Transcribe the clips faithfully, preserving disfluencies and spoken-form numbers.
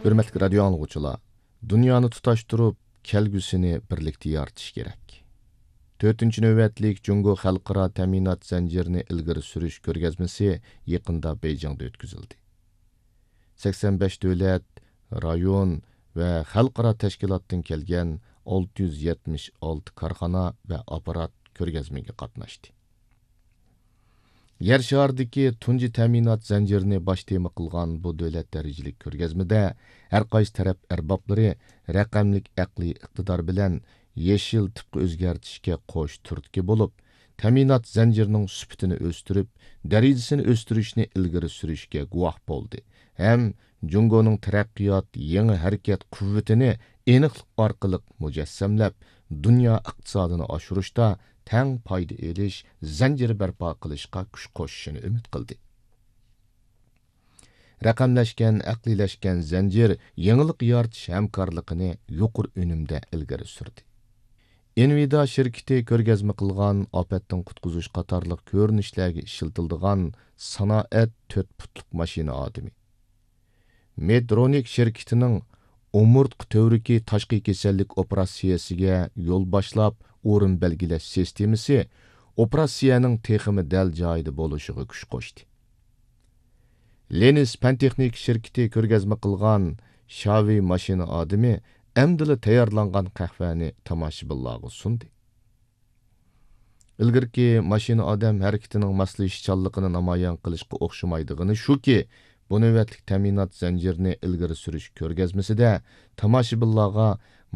ھۆرمەتلىك رادىيو ئاڭلىغۇچىلار، دۇنيانى تۇتاشتۇرۇپ، كەلگۈسىنى بىرلىكتە يارىتىش كېرەك. تۆتىنچى نۆۋەتلىك جۇڭگو خەلقئارا تەمىنات زەنجىرىنى ئىلگىرى سۈرۈش كۆرگەزمىسى يېقىندا بېيجىڭدا ئۆتكۈزۈلدى. سەكسەن بەش دۆلەت، رايون ۋە خەلقئارا تەشكىلاتتىن كەلگەن ئالتە يۈز يەتمىش ئالتە كارخانا ۋە ئاپپارات كۆرگەزمىگە قاتناشتى. يەر شارىدىكى تۇنجى تەمىنات زەنجىرىنى باش تېما قىلغان بۇ دۆلەت دەرىجىلىك كۆرگەزمىدە ھەر قايسى تەرەپ ئەربابلىرى رەقەملىك ئەقلىي ئىقتىدار بىلەن يېشىل تىپقا ئۆزگەرتىشكە قوش تۈرتكە بولۇپ، تەمىنات زەنجىرىنىڭ سۈپىتىنى ئۆستۈرۈپ، دەرىجىسىنى ئۆستۈرۈشنى ئىلگىرى سۈرۈشكە گۇۋاھ بولدى ھەم جۇڭگونىڭ تەرەققىيات يېڭى ھەرىكەت قۇۋۋىتىنى ئېنىقلىق ئارقىلىق مۇجەسسەملەپ، دۇنيا ئىقتىسادىنى ئاشۇرۇشتا تەڭ پايدا ئېلىش زەنجىرى بەرپا قىلىشقا كۈچ قوشۇشىنى ئۈمىد قىلدى. رەقەملەشكەن، ئەقلىيلەشكەن زەنجىر يېڭىلىق يارىتىش ھەمكارلىقىنى يۇقىرى ئۈنۈمدە ئىلگىرى سۈردى. ئىنۋىدا شىركىتى كۆرگەزمە قىلغان ئاپەتتىن قۇتقۇزۇش قاتارلىق كۆرۈنۈشلەرگە ئىشلىتىلىدىغان سانائەت تۆت پۇتلۇق ماشىنا ئادىمى. مېدرونىك شىركىتىنىڭ ئومۇرتقا تۈۋرۈكى تاشقى كېسەللىك ئوپېراتسىيەسىگە يول باشلاپ ئورۇن بەلگىلەش سىستېمىسى ئوپېراتسىيەنىڭ تېخىمۇ دەل جايىدا بولۇشىغا كۈچ قوشتى. لېنىس پەن تېخنىكا شىركىتى كۆرگەزمە قىلغان شاۋېي ماشىنا ئادىمى ئەمدىلا تەييارلانغان قەھۋەنى تاماشىبىنلارغا سۇندى. ئىلگىرىكى ماشىنا ئادەم ھەرىكىتىنىڭ ماسلىشىشچانلىقىنى نامايان قىلىشقا ئوخشىمايدىغىنى شۇكى، بۇ نۆۋەتلىك تەمىنات زەنجىرىنى ئىلگىرى سۈرۈش كۆرگەزمىسىدە تاماشىبىنلارغا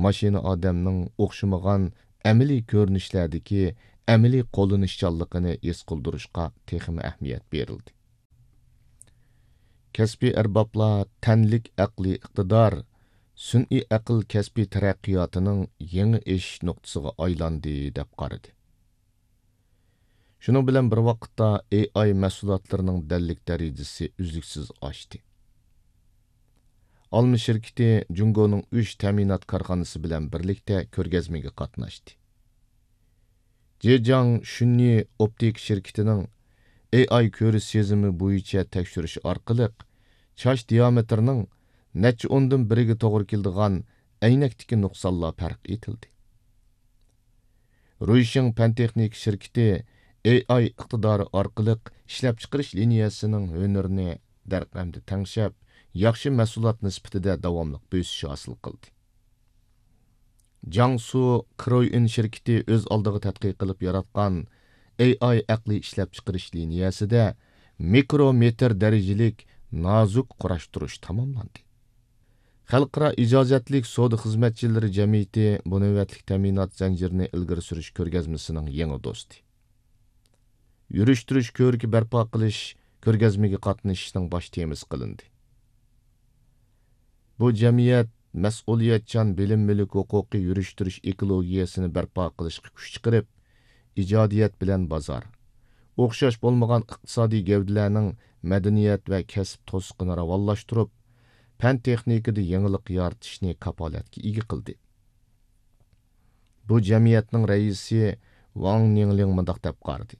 ماشىنا ئادەمنىڭ ئوخشىمىغان ئەمەلىي كۆرۈنۈشلەردىكى ئەمەلىي قوللىنىشچانلىقىنى ھېس قىلدۇرۇشقا تېخىمۇ ئەھمىيەت بېرىلدى. كەسپىي ئەربابلار تەنلىك ئەقلىي ئىقتىدار، سۈنئىي ئەقىل كەسپىي تەرەققىياتىنىڭ يېڭى ئېشىش نۇقتىسىغا ئايلاندى، دەپ قارىدى. شۇنىڭ بىلەن بىر ۋاقىتتا، ئېي ئاي مەھسۇلاتلىرىنىڭ دەللىك دەرىجىسى ئۈزلۈكسىز ئاشتى. ئالما شىركىتى جۇڭگونىڭ ئۈچ تەمىنات كارخانىسى بىلەن بىرلىكتە كۆرگەزمىگە قاتناشتى. جېجياڭ شۈننى ئوپتىكا شىركىتىنىڭ ئېي ئاي كۆرۈش سېزىمى بويىچە تەكشۈرۈش ئارقىلىق، چاچ دىيامېتىرىنىڭ نەچچە ئوندىن بىرىگە توغرا كېلىدىغان ئەينەكتىكى نۇقسانلار پەرق ئېتىلدى. رۇيشىڭ پەن تېخنىكا شىركىتى ئېي ئاي ئىقتىدارى ئارقىلىق ئىشلەپچىقىرىش لىنىيەسىنىڭ ھۈنىرىنى دەرقەمدە تەڭشەپ، ياخشى مەھسۇلات نىسبىتىدە داۋاملىق بۆسۈش ھاسىل قىلدى. جياڭسۇ كرويئىن شىركىتى ئۆز ئالدىغا تەتقىق قىلىپ ياراتقان ئېي ئاي ئەقلىي ئىشلەپچىقىرىش لىنىيەسىدە مىكرومېتىر دەرىجىلىك نازۇك قۇراشتۇرۇش تاماملاندى. خەلقئارا ئىجازەتلىك سودا خىزمەتچىلىرى جەمئىيىتى بۇ نۆۋەتلىك تەمىنات زەنجىرىنى ئىلگىرى سۈرۈش كۆرگەزمىسىنىڭ يېڭى دوستى. يۈرۈشتۈرۈش كۆۋرۈكى بەرپا قىلىش كۆرگەزمىگە قاتنىشىشنىڭ باش تېمىسى قىلىندى. بۇ جەمئىيەت مەسئۇلىيەتچان بىلىم مۈلۈك ھوقۇقى يۈرۈشتۈرۈش ئېكولوگىيەسىنى بەرپا قىلىشقا كۈچ چىقىرىپ، ئىجادىيەت بىلەن بازار، ئوخشاش بولمىغان ئىقتىسادىي گەۋدىلەرنىڭ مەدەنىيەت ۋە كەسىپ توسۇقىنى راۋانلاشتۇرۇپ، پەن تېخنىكىدا يېڭىلىق يارىتىشنى كاپالەتكە ئىگە قىلدى. بۇ جەمئىيەتنىڭ رەئىسى ۋاڭ نىڭلىڭ مۇنداق دەپ قارىدى: